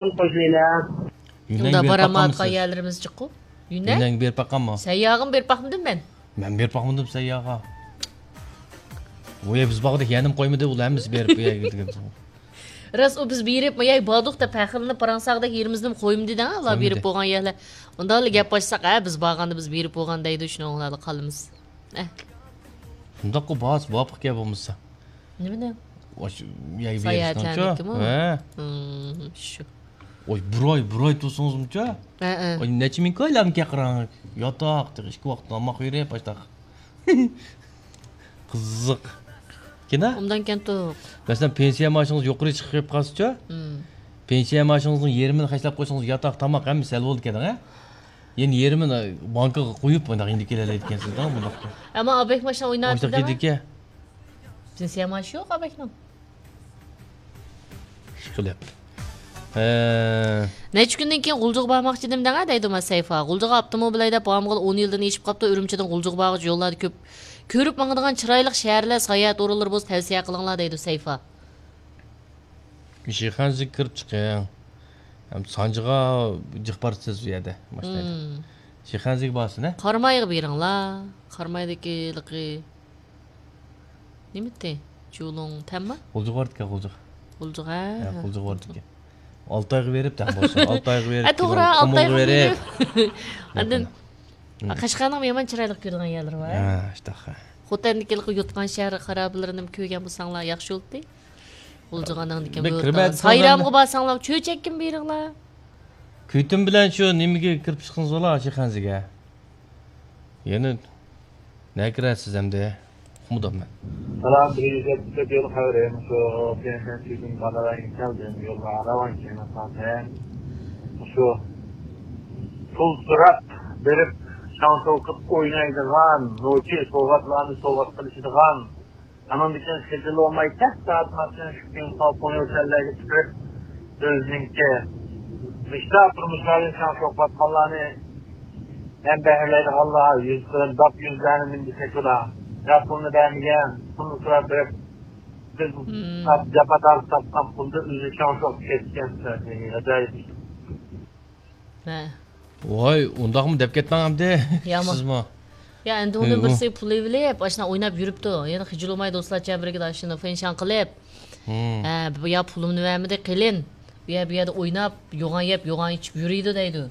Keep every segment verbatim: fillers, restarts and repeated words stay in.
قوشۇۋېلە. يۈننەنگە ئۇنداق بېرىپ بارالمايۋاتقان باققانمۇ سىز؟ يەرلىرىمىز جىققۇ. يۈننەن. يۈننەنگە بېرىپ باققانمۇ؟ سەيياغىمۇ بېرىپ باقمىدىم مەن. مەن بېرىپ باقمىدىم سەيياغا. ئۇ يەر بىز بارغۇدەك يەنىمۇ قويمىدى، ئۇلار ھەممىسى بېرىپ ئۇ يەرگە كېتىدىكەن. راست، ئۇ بىز بېرىپ، ئۇ يەرگە باردۇق دەپ پەخىرلىنىپ پاراڭ ساغدەك يېرىمىزنىمۇ قويمىدى دەڭ، ئۇلار بېرىپ قويمىدى. بولغان يەرلەر. ئۇنداقلا گەپ ئاچساق، ھە، بىز بارغاندا بىز بېرىپ بولغان دەيدۇ، شۇنىڭ ئۇلاردا قالىمىز. ئە. شۇنداققۇ، بارسا مۇۋاپىق گەپ بولمىسا. نېمىنى؟ ئاشۇ يەرگە ساياھەتلەنمەكتىمۇ؟ ھە. ھىم، شۇ. ئاي، بىر ئاي، بىر ئاي تۇرسىڭىزمۇچە؟ ھە، ھە. ئاي، نەچچە مىڭ كويلارمىكەن قاراڭ. ياتاق، تېخى ئىككى ۋاقىت تاماق بېرىپ، ئاشتاق. قىزىق. كېنە؟ ئۇنداق كەنتۇق. مەسىلەن، پېنسىيە مائاشىڭىز يۇقىرى چىقىپ قالسىچۇ؟ ھىم. پېنسىيە مائاشىڭىزنىڭ يېرىمىنى خەجلەپ قويسىڭىز، ياتاق، تاماق ھەممىسى ھەل بولىدىكەن، ھە؟ يەنە يېرىمىنى بانكىغا قويۇپ، مۇنداق ئىندىكىلەلەيدىكەنسىز، مۇنداق. ئەمما ئابەك ماشىنا ئويناۋاتىدۇ. ئاشتاق كېدىكەن. پېنسىيە مائاشى يوق ئابەكنىڭ. ئىشقىلىپ. ھە. نەچچە كۈندىن كېيىن غۇلجىغا بارماقچىدىم دەڭە دەيدۇ ما سەيفا. غۇلجىغا ئاپتوموبىل ھەيدەپ بارمىغىلى ئون يىلدىن ئېشىپ قاپتۇ. ئۈرۈمچىدىن غۇلجىغا بارغۇچە يوللاردا كۆپ كۆرۈپ ماڭىدىغان چىرايلىق شەھەرلەر، ساياھەت ئورۇنلىرى بولسا تەۋسىيە قىلىڭلار دەيدۇ سەيفا. شىخەنزىگە كىرىپ چىقىڭ. ھەم سانجىغا جىق بارىسىز ئۇ يەردە ماشىنىدا. ھىم. شىخەنزىگە بارسىز، ھە؟ قارامايغا بېرىڭلار. قارامايدىكى ھېلىقى نېمىتى؟ جۇلۇڭ تەنما؟ غۇلجىغا بارىدىكەن، غۇلجىغا. غۇلجىغا، ھە، ھە، غۇلجىغا بارىدىكەن. ئالتايغا بېرىپ، تەڭ بولسا، ئالتايغا بېرىپ، ھە، توغرا، قۇمۇلغا ئالتايغا بېرىپ. ئاندىن، ھىم. قەشقەرنىڭ يامان چىرايلىق كۆرىدىغان يەرلىرى بار. ھە، ئاشتاق. خوتەندىكى ھېلىقى يوتقان شەھەر خارابىلىرىنى كۆرگەن بولساڭلار ياخشى بولاتتى. غۇلجىغا ئاندىن كېيىن بىر بۇ كىرمەي سايرامغا بارساڭلار، چۆچەككىمۇ بېرىڭلار. كۈتۈم بىلەن شۇ نېمىگە كىرىپ چىقسىڭىز بولا، شىخەنزىگە. يەنە نەگە كىرەسىز ئەمدى؟ ئۇقمىدىم مەن. سالام، بىر يۈز يەتمىش تۆت يول خەۋىرى. شۇ بىيەنشەنبە كۈنى مانا كەلدىم. يولغا راۋان كېلىڭ سازەن. شۇ پۇل سوراپ بېرىپ، شاڭ-شوۋ قىلىپ ئوينايدىغان، نوچى سوۋغاتلارنى سوۋغات قىلىشىدىغان، ئانىڭدىن كېيىن خىجىل بولماي، تەس سائەت ماشىنا چۈشكەن ساۋ پوڭيوچەنلەرگە چىقىپ، ئۆزىنىڭكى مىشتا تۇرمۇشلارنى شاڭ-شوق قىلىۋاتقانلارنى ھەم بەھرىلەيدىغانلار يۈز قېرىنداپ يۈزلەرنى مىندىسەك ئۇلار. يا پۇلنى بەرمىگەن، پۇلنى سوراپ بېرىپ، بىز مم. جاپا تارتىپ تاپقان پۇلدا ئۆزى شاڭ-شوق كەتكەن. ئاجايىپ ئىش. ھە. ۋاي، ئۇنداقمۇ دەپ كەتمەڭ ئەمدى. يامان. سىزمۇ. يا، ئەمدى ئۇنىڭ ھەي، ئۇ. بىرسى پۇل ئېلىپ، ئاشۇنداق ئويناپ يۈرۈپتۇ. يەنە خىجىل بولماي دوستلارچە بىرگە ئاشۇنى فېنشان قىلىپ. ھىم. ھە، بۇ يا پۇلۇمنى بەرمىدى، قېلىن. بۇ يەر، بۇ يەردە ئويناپ، يوغان يەپ، يوغان ئىچىپ يۈرىدۇ دەيدۇ.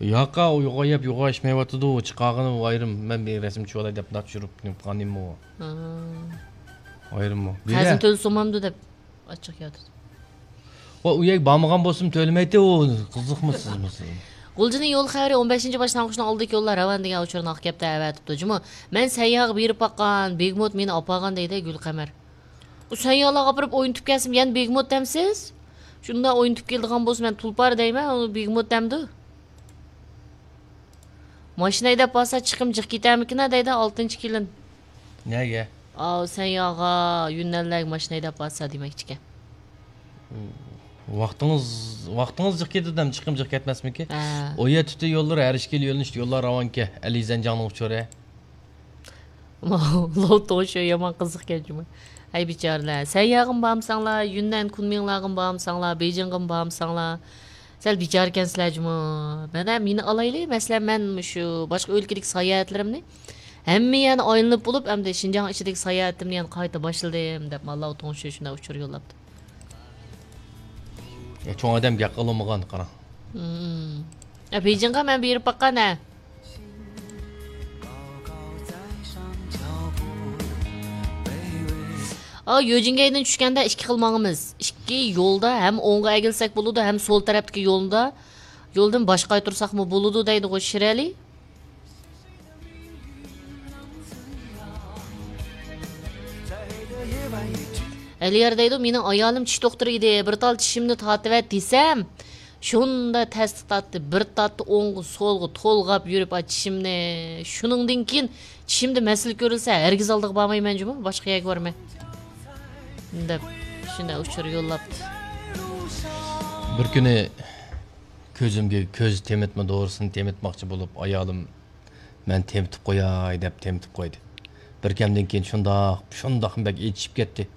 ياقا، ئۇ يوغان يەپ، يوغان ئىچمەيۋاتىدۇ، ئۇ چىقارغىنى ئۇ ئايرىم. مەن بىر رەسىم چۈشۈرۈۋالاي دەپ مۇنداق چۈشۈرۈپ قالغىنىمۇ. ھا. ئايرىممۇ. قەرزىنى تۆلىسۇنمامدۇ دەپ. ئاچچىق ياتىدۇ. ۋە ئۇ يەرگە بارمىغان بولسىمۇ تۆلىمەيتتى ئۇ. قىزىقمۇ سىزمۇ سىز؟ غۇلجىنىڭ يول خەۋىرى ئون بەشىنچى باش تاڭخۇنىڭ ئالدىدىكى يوللار راۋان دېگەن ئۇچۇرنى ئاقكەپتە ئەۋەتىپتۇ. جۇمۇ، مەن سەيياغا بېرىپ باققان، بېگموت مېنى ئاپارغان دەيدۇ گۈلقەمەر. ئۇ سەيياغلارغا ئاپىرىپ ئوينىتىپ كەلسىمۇ يەنە بېگموت دەمسىز؟ شۇنداق ئوينىتىپ كېلىدىغان بولسا مەن تۇلپار دەيمەن، ئۇ بېگموت دەمدۇ؟ ماشىنا ھەيدەپ بارسا چىقىم جىق كېتەرمىكىن دەيدۇ ئالتىنچى كېلىن. نەگە؟ ئاۋۇ سەن ياغا يۈننەنلەرگە ماشىنا ھەيدەپ بارسا دېمەكچىكەن. ۋاقتىڭىز، ۋاقتىڭىز جىق كېتىدۇ دەم، چىقىم جىق كەتمەسمىكى؟ ھە. ئۇ يەر تۈتۈن يوللىرى ھەر ئىككىلا يۆنىلىشتە يوللار راۋانكەن. ئەلى زەنجاڭنىڭ ئۇچۇرى. لوتوشۇ يامان قىزىقكەن جۇمۇ. ھەي بىچارىلەر، سەن ياغىمۇ بارمىساڭلار، يۈننەن كۇنمىڭلارغىمۇ بارمىساڭلار، بېيجىڭغىمۇ بارمىساڭلار. سەل بىچارىكەنسىلەر جۇمۇ. مانا مېنى ئالايلى، مەسىلەن، مەن مۇشۇ باشقا ئۆلكىدىكى ساياھەتلىرىمنى ھەممە يەرنى ئايلىنىپ بولۇپ، ئەمدى شىنجاڭ ئىچىدىكى ساياھەتىمنى يەنە قايتا باشلىدىم دەپ، ماللا تۇڭشى شۇنداق ئۇچۇر يوللاپتۇ. يا، چوڭ ئادەم گەپ قىلالمىغان، قاراڭ. مم. يا، بېيجىڭغا مەن بېرىپ باققان، ھە. ئا، يۆجىنگەيدىن چۈشكەندە ئىككى خىل ماڭىمىز. ئىككى يولدا ھەم ئوڭغا ئەگىلسەك بولىدۇ، ھەم سول تەرەپتىكى يولدا، يولدىن باش قايتۇرساقمۇ بولىدۇ دەيدىغۇ شىرئەلى. ئەلىيار دەيدۇ، مېنىڭ ئايالىم چىش دوختۇرى ئىدى، بىر تال چىشىمنى تارتىۋەت دېسەم، شۇنداق تەستە تارتتى، بىر تارتتى ئوڭغا، سولغا، تولغاپ يۈرۈپ، ئا، چىشىمنى. شۇنىڭدىن كېيىن چىشىمدە مەسىلە كۆرۈلسە، ھەرگىز ئالدىغا بارمايمەن جۇمۇ، باشقا يەرگە بارىمەن دەپ، شۇنداق ئۇچۇر يوللاپتۇ. بىر كۈنى كۆزۈمگە كۆز تېمىتما دورىسىنى تېمىتماقچى بولۇپ، ئايالىم مەن تېمىتىپ قوياي دەپ تېمىتىپ قويدى. بىر كەمدىن كېيىن شۇنداق، شۇنداقمۇ بەك ئېچىشىپ كەتتى.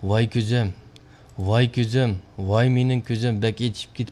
ۋاي كۆزۈم، ۋاي كۆزۈم، ۋاي مېنىڭ كۆزۈم، بەك ئېچىشىپ كېتىپتۇ.